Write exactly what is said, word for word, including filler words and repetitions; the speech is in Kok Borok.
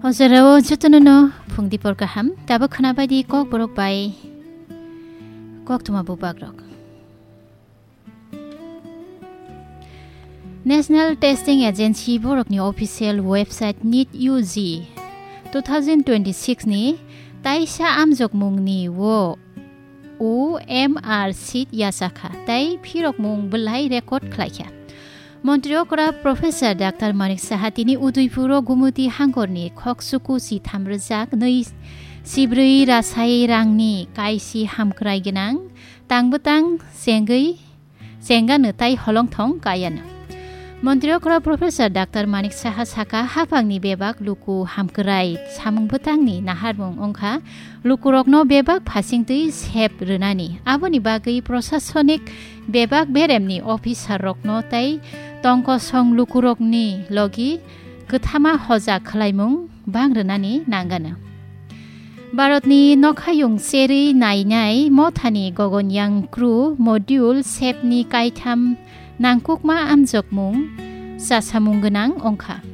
O jorao jotono no phung dipor kaham, tabuk khwnabai di Kokborok bai Koktwma bubagrok. National Testing Agency borokni official website NEET U G two thousand twenty-six ni taisa amjokmungni o O M R sheet yachakha tei phirokmung belai record khlaikha. Montri okra Professor Doctor Manik Saha tini Udaipuro Gumuti hangkorni khoksuku si thamrwjak nwi sibrwi rasai rangni kaisi hamkrai gwnang tangbwtang chengwi chengano tai holongthong kayano. Montri okra Professor Doctor Manik Saha saka, haphangni bebak luku hamkrai samung bwtangni naharmung wngkha lukurokno bebak phasingtwi sep rwnani. Aboni bagwi prosasonik bebak beremni officer rokno tei tongkosong lukurokni logi kwthama hoja khwlaimung bang rwnani nangano. Bharatni nokhayung cherwi nainai mothani Gaganyaan crew module sepni kaitham nangkukma amjokmung chasamung gwnang wngkha.